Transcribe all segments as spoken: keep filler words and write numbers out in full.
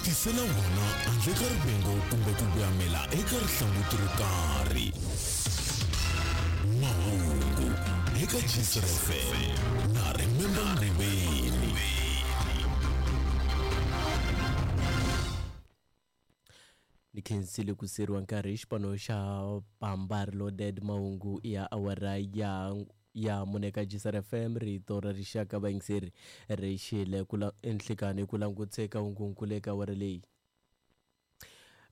tisela wona handle ka rivengo kumbe ku voyamela eka rihlanguti ro karhi. Mahungu eka Gistr F M na Remember Nguveni. Ni khensile ku siriwa nkarhi xipano xa Pambari Loaded mahungu ya awara ya ya mune ka Gistr F M rito ra rixaka vayingiseri ri xile ku enhlikani ku languteka hungunkulu eka awara leyi.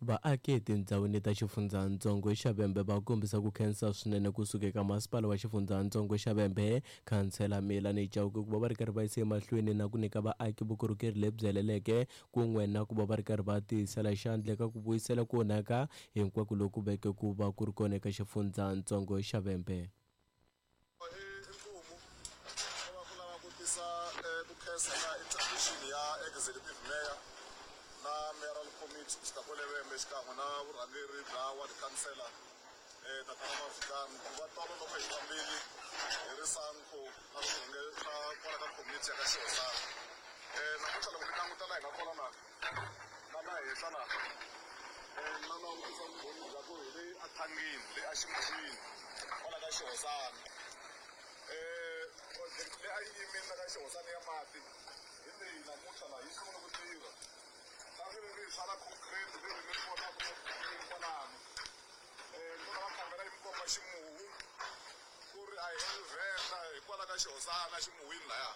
Vaaki etindhawini ta xifundzatsongo xa Vhembe va kombisa ku khensa swinene kusuka eka masipala wa xifundzatsongo xa Vhembe khansela Melanie Chauke ku va va ri karhi va yisa emahlweni na ku nyika vaaki vukorhokeri lebyi heleleke kun'we na ku va va ri karhi va tiyisela xandla eka ku vuyisela ku onhaka hinkwako loku veke ku va ku ri kona eka xifundzatsongo xa Vhembe. Inkomo va ku lava ku tisa ku khensa ka intervention ya executive mayor na mayoral committee xikan'we Vhembe xikan'we na vurhangeri bya ward councillor eh tatana Mavikani ku va tolo loko hi fambile hi ri SANCO na swiyenge swa kwala ka committee ya ka Xihosana. Eh namuntlha loko ni languta laha hi nga kona na na laha henhla laha eh na langutisa vumbhoni bya ku hi le athangini le aximuhwini kwala ka Xihosana. Eh project leyi a yi yimile ka Xihosana ya mati hi leyi namuntlha laha yi sungule ku tirha. Ri ri concrete ri ri mi vonaka kwalano. Eh loko va khamera yi mi komba ximuhu ku ri a hi Vhenda hikwalaho ka Xihosana ximuhwini laya.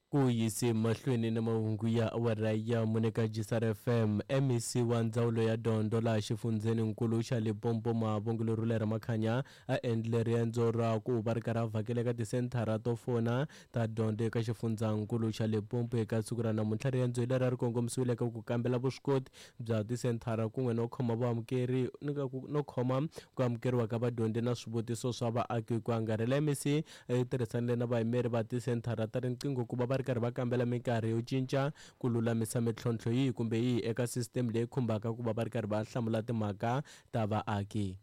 Ku yise mahlweni na mahungu ya awara ya mune ka Gistr F M M E C wa ndzawulo ya dyondzo laha xifundzheninkulu xa Limpopo Mavongelo Rulera Makhanya a endle riendzo ra ku va ri karhi a vhakela eka tisenthara to fona ta dyondzo eka xifundzankulu xa Limpopo eka siku ra namuntlha. Riendzo leri a ri kongomisiwile eka ku kambela vuswikoti bya tisenthara kun'we no khoma vaamukeri no khoma ku amukeriwa ka vadyondzi na swivutiso swa vaaki ku angarhela. M E C yi tirhisanile na vayimeri va tisenthara ta riqingho ku va va ri karhi va kambela minkarhi yo cinca ku lulamisa mintlhontlho yihi kumbe yihi eka system leyi khumbaka ku va va ri karhi va hlamula timhaka ta vaaki.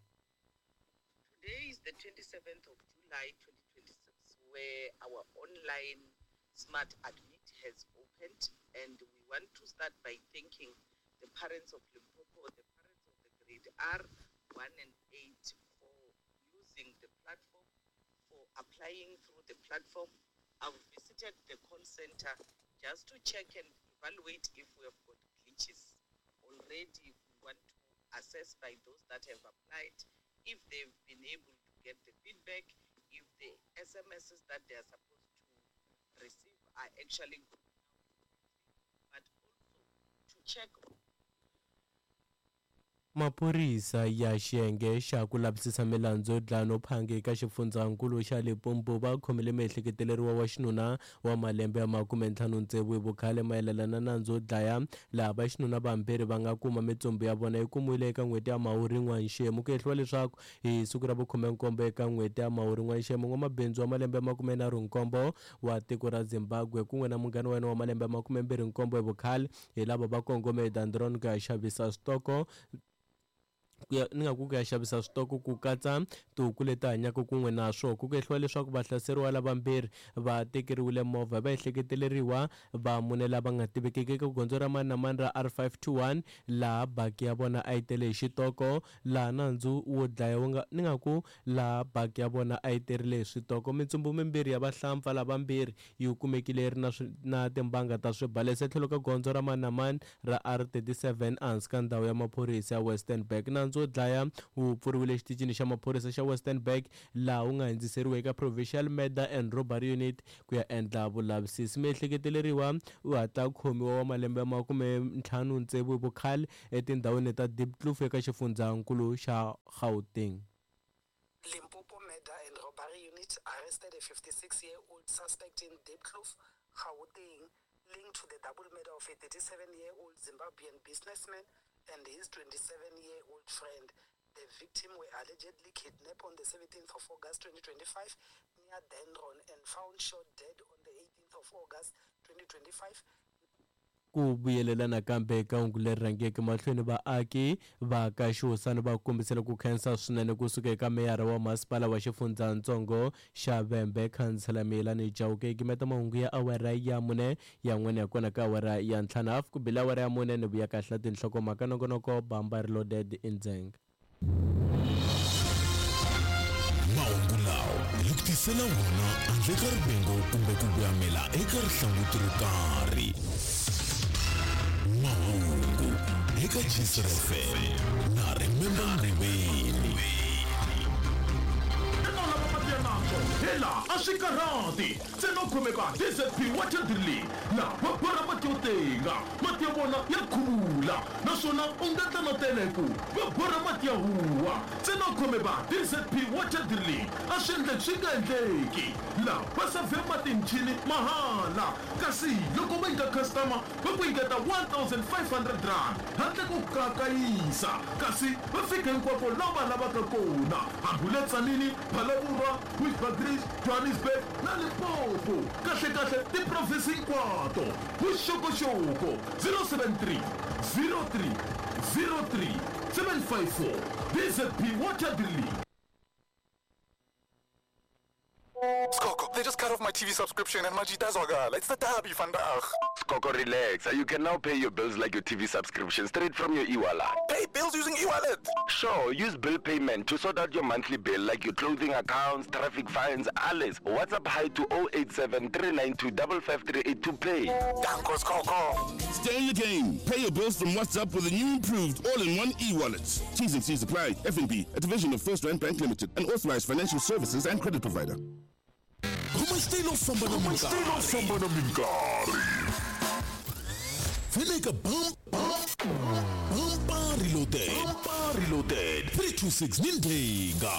Today is the twenty-seventh of July twenty twenty-six, where our online smart admit has opened, and we want to start by thanking the parents of Limpopo, the parents of the grade R one and eight for using the platform, for applying through the platform. I've visited the call center just to check and evaluate if we have got glitches. Already we want to assess by those that have applied, if they've been able to get the feedback, if the S M Ss that they are supposed to receive are actually good, but also to check. Maphorisa ya xiyenge xa ku lavisisa milandzu yo dlaya no phanga eka xifundzankulu xa Limpopo va khomile miehleketeleriwa wa xinuna wa malembe ya makume ntlhanu tsevu hi vukhale mayelana na nandzu wo dlaya laha va xinuna vambirhi va nga kuma mitsumbu ya vona yi kumiwile eka n'hweti ya Mhawuri n'wanxemu. Ku hehliwa leswaku hi siku ra vukhume-nkombo eka n'hweti ya Mhawuri n'wanxemu n'wamabindzu wa malembe ya makume nharhu nkombo wa tiko ra Zimbabwe kun'we na munghana wa yena wa malembe ya makume mbirhi nkombo hi vukhale hi lava va kongome eDandron ku ya xavisa switoko ku ya ni nga ku ku ya xavisa switoko ku katsa tihuku leti hanyaka kun'we na swona. Ku hehliwa leswaku vahlaseriwa lavambirhi va tekeriwile movha va ehleketeleriwa va mune lava nga tivekiki eka gondzo ra mani na mani ra R five two one laha baki ya vona a yi tele hi xitoko laha nandzu wo dlaya wu nga ni nga ku laha baki ya vona a yi terile hi switoko. Mitsumbu mimbirhi ya vahlampfa lavambirhi yi kumekile yi ri na na timbanga ta swibalesa etlhelo ka gondzo ra mani na mani ra R thirty-seven ehansi ka ndhawu ya maphorisa ya Westernburg. Nandzu wo dlaya wu pfuriwile exitichini xa maphorisa xa Westernburg laha wu nga hundziseriwa eka Provincial Murder and Robbery Unit ku ya endla vulavisisi. Miehleketeleriwa u hatla khomiwa wa malembe ya makume ntlhanu tsevu hi vukhale etindhawini ta Diepkloof eka xifundzankulu xa Gauteng. Limpopo Murder and Robbery Unit arrested a fifty-six-year-old suspect in Diepkloof, Gauteng, linked to the double murder of a thirty-seven-year-old Zimbabwean businessman and his twenty-seven-year-old friend. The victim were allegedly kidnapped on the seventeenth of August twenty twenty-five near Dendron and found shot dead on the eighteenth of August twenty twenty-five. Ku vuyelela nakambe ka hungu leri rhangeke mahlweni, vaaki va ka Xihosana va kombisile ku khensa swinene kusuka eka meyara wa masipala wa xifundzatsongo xa Vhembe, khansela Miyelani Chauke. Gimeta mahungu ya awara ya mune ya n'wene ya kona ka awara ya ntlhanu hafu ku bile awara ya mune ni vuya kahle tinhlokomhaka nongonoko Bamba Reloaded Indzeng. Mahungu lawa hi ku tisela wona handle ka rivengo kumbe ku voyamela eka rihlanguti ro karhi. Mahungu eka Jisr F M na Remember Ngobeni. Hela a swi karhati ntsena u khomeka D Z P water drilling na va borha mati yo tenga, mati ya vona ya khuvula naswona u nga ta na teleku va borha mati ya huwa. Ntsena u khomeka D Z P water drilling a swi endleki swi nga endleki la va savhe mati hi michini mahala, kasi loko va nyika customer va ku nyiketa one thousand five hundred rand handle ko kakayisa, kasi va fika hinkwako laha va lavaka kona, hambi le Tzaneen, Phalaborwa, Bushbuckridge, Johannesburg na Limpopo. Kahle kahle tiprovinsi hinkwato. Vuxokoxoko zero seven three zero three zero three seven five four. D Z P Water Drilling. Skoko, they just cut off my T V subscription and Majita Zwagala. It's the derby vandaag. Skoko, relax. You can now pay your bills like your T V subscription straight from your e-wallet. Pay bills using e-wallet? Sure, use bill payment to sort out your monthly bill like your clothing accounts, traffic fines, alles. WhatsApp hi to oh eight seven, three nine two, five five three eight to pay. Danko, Skoko. Stay in the game. Pay your bills from WhatsApp with a new improved all-in-one e-wallet. T's and C's apply. F N B, a division of First Rand Bank Limited, an authorized financial services and credit provider. Famba na minkarhi. Feleka bam bam bam reloaded. Bam reloaded. three two six Nindenga.